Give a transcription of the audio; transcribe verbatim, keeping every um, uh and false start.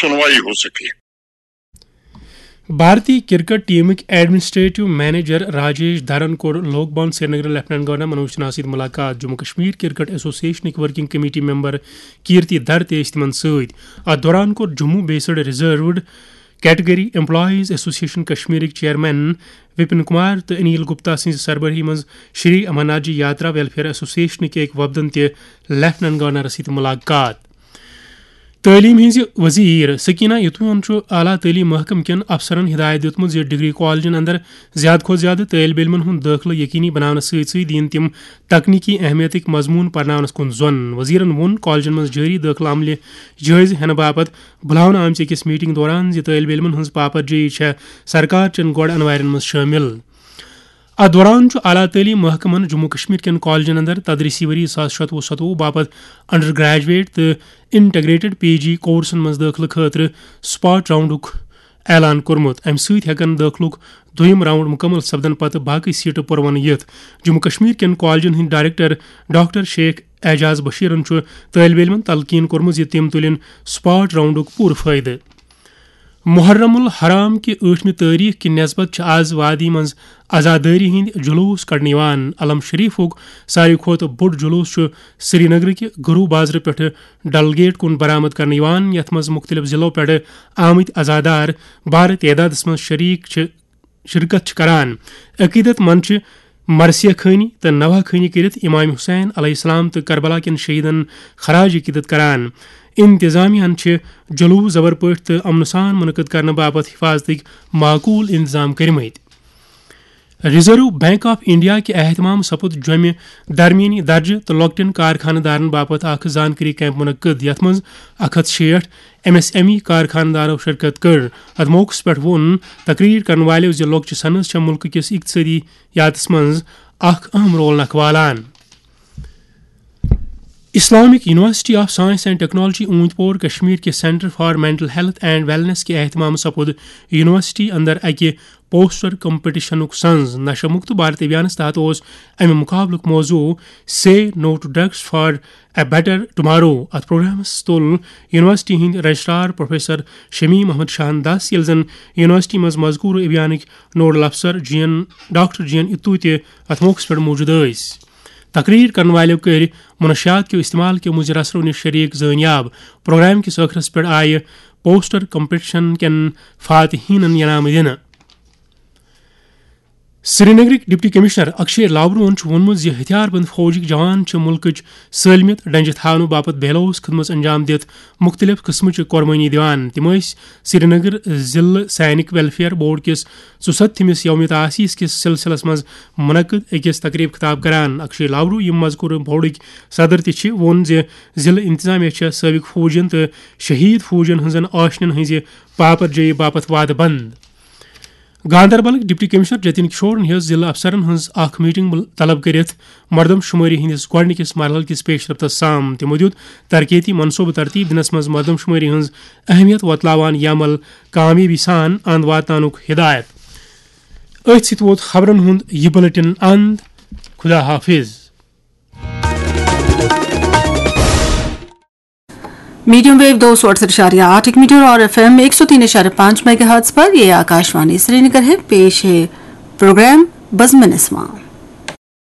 سنوائی ہو سکے۔ بھارتی cricket ٹیمٕکۍ administrative manager Rajesh Dharan کوٚر لوک بھون سرینگرٕ لیفٹیننٹ گورنر منوج سنہاہَس سۭتۍ ملاقات۔ جموں کشمیر کرکٹ ایسوسیشنٕکۍ working committee member Kirti Dhar تہِ ٲسۍ تِمن سۭتۍ۔ اتھ دوران کوٚر Jammu based reserved category employees association کشمیرٕکۍ چیئرمین وپن کمار تہٕ انیل گپتا سٕنٛزِ سربرٲہی منٛز شری امرناتھ جی یاترا ویلفیئر ایسوسیشنٕکۍ أکۍ وفدن تہِ لیفٹیننٹ گورنرس سۭتۍ ملاقات۔ تعلیٖم ہٕنٛزِ وزیر سکینہ یتویَن چھُ اعلیٰ تعلیٖم محکمہٕ کٮ۪ن افسرَن ہدایت دِیُتمُت زِ ڈگری کالجن اندر زیادٕ کھۄتہٕ زیادٕ طٲلب علمَن ہُنٛد دٲخلہٕ یقینی بناونہٕ سۭتۍ سۭتۍ دِیِن تِم تکنیکی اہمیتٕکۍ مضموٗن پرناونَس کُن زۄن۔ وزیرَن ووٚن کالجن منٛز جٲری دٲخلہٕ عملہِ جٲیزٕ ہٮ۪نہٕ باپتھ بُلاونہٕ آمژِ أکِس میٹنگ دوران زِ طٲلب علمَن ہٕنٛز پاپرجٲیی چھےٚ سرکار چٮ۪ن گۄڈٕ انوارٮ۪ن منٛز شٲمِل۔ اتھ دوران چھُ اعلیٰ تعلیٖم محکمن جموں کشمیر کٮ۪ن کالجن اندر تدریسی ؤری زٕ ساس شتوُہ ستوُہ باپتھ انڈر گریجویٹ تہٕ انٹیگریٹڈ پی جی کورسن منٛز دٲخلہٕ خٲطرٕ سپاٹ راؤنڈُک اعلان کوٚرمُت۔ امہِ سۭتۍ ہٮ۪کن دٲخلُک دوٚیِم راؤنڈ مُکمل سپدن پتہٕ باقٕے سیٹہٕ پُروَنہٕ یِتھ۔ جموں کشمیر کٮ۪ن کالجن ہٕنٛدۍ ڈائریکٹر ڈاکٹر شیخ اعجاز بشیرن چھُ طٲلب علمن تلقین کوٚرمُت زِ تِم تُلِن سپاٹ راؤنڈُک پوٗرٕ فٲیدٕ۔ محرم الحرام کہِ ٲٹھمہِ تٲریخ کہِ نسبت چھِ آز وادی منٛز عزادٲری ہٕنٛدۍ جلوٗس کڑنہٕ یِوان۔ علم شریفُک ساروی کھۄتہٕ بوٚڑ جلوٗس چھُ سرینگرٕ کہِ گرو بازرٕ پٮ۪ٹھٕ ڈل گیٹ کُن برآمد کرنہٕ یِوان، یَتھ منٛز مُختٔلِف ضلعو پٮ۪ٹھٕ آمٕتۍ عزادار بارٕ تعدادَس منٛز شریٖک چھِ شرکت چھِ کران۔ عقیدت مند چھِ مرثیہ خوانی تہٕ نوحہ خوانی کٔرِتھ امام حسین علیہ السلام تہٕ کربلا کٮ۪ن شہیدن خراج عقیدت کران۔ انتظامیہ ہن چھِ جلوس زبر پٲٹھۍ تہٕ امنہٕ سان منعقد کرنہٕ باپتھ حفاظتٕکۍ معقول انتظام کٔرمٕتۍ۔ ریزرو بینک آف انڈیا کہِ اہتمام سپُد جوٚمہِ درمیٲنی درجہٕ تہٕ لۄکٹٮ۪ن کارخانہٕ دارن باپتھ اکھ زانکٲری کیمپ منعقد، یتھ منٛز اکھ ہتھ شیٹھ ایم ایس ایم ای کارخانہٕ دارو شرکت کٔر۔ اتھ موقعس پٮ۪ٹھ ووٚن تقریر کرن والٮ۪و زِ لۄکچہِ صنعت چھےٚ ملکہٕ کِس اقتصٲدی یاتس منٛز اکھ اہم رول نکھوالان۔ Islamic university of science and technology Awantipora Kashmir کہِ centre for mental health and wellness کہِ اہتمام سپُد یونیورسٹی اندر اکہِ پوسٹر کمپٹیشنُک سنز۔ نشہ مکت بھارت ابھیانس تحت اوس امہِ مقابلُک موضوع Say No to Drugs for a Better Tomorrow۔ اتھ پروگرامس تُل یونیورسٹی ہٕنٛدۍ رجسٹرار پروفیسر شمیم احمد شاہن دس، ییٚلہِ زن یونیورسٹی منٛز مذکورٕ ابھیانٕکۍ نوڈل افسر جین ڈاکٹر جین اتو تہِ اتھ موقعس پٮ۪ٹھ موجود ٲسۍ۔ تقریر کرن والٮ۪و کٔرۍ منشیات کیو استعمال کیو مضر اثرو نِش شریک زٲنیاب۔ پروگرام کِس ٲخرس پٮ۪ٹھ آیہِ پوسٹر کمپٹیشن کٮ۪ن فاتحینن انعام دِنہٕ۔ سرینگرٕکۍ ڈپٹی کمشنر اکشے لاورون چھُ ووٚنمُت زِ ہتھیار بند فوجٕکۍ جوان چھِ مُلکٕچ سٲلمِیت ڈنجہِ تھاونہٕ باپتھ بے لوث خدمژ انجام دِتھ مُختٔلِف قٕسمٕچہِ قۄربٲنی دِوان۔ تِم ٲسۍ سرینگر ضلعہٕ سینک ویلفیئر بورڈ کِس ژُسَتتھمِس یوم تاسیس کِس سلسلس منٛز منعقد أکِس تقریب خطاب کران۔ اکشے لاورو، یِم مذکورٕ بورڈٕکۍ صدر تہِ چھِ، ووٚن زِ ضلعہٕ انتظامیہ چھےٚ سٲبق فوجین تہٕ شہید فوجین ہٕنٛزن آشنین ہٕنٛزِ پاپرجٲیی باپتھ وعدٕ بند۔ گاندربلٕکۍ ڈپٹی کمشنر جتن کشورن ہیٚژ ضلعہٕ افسرن ہٕنٛز اکھ میٹنگ مل-، طلب کٔرِتھ مردم شمٲری ہٕنٛدِس گۄڈٕنِکِس مرحلہٕ کِس پیش رفتس سام۔ تِمو دیُت ترقیتی منصوبہٕ ترتیب دِنس منٛز مردم شمٲری ہٕنٛز اہمیت وۄتلاوان یہِ عمل کامیٲبی سان اند واتناونُک ہدایت۔ أتھۍ سۭتۍ ووت خبرن ہُنٛد یہِ بلیٹن اند۔ خدا حافظ۔ मीडियम वेव दो सौ अड़सठ इशारे आठ एक मीटर और एफ एम एक सौ तीन इशारे पाँच मेगाहर्ट्ज पर ये आकाशवाणी श्रीनगर है। पेश है प्रोग्राम बज़्म नस्मा।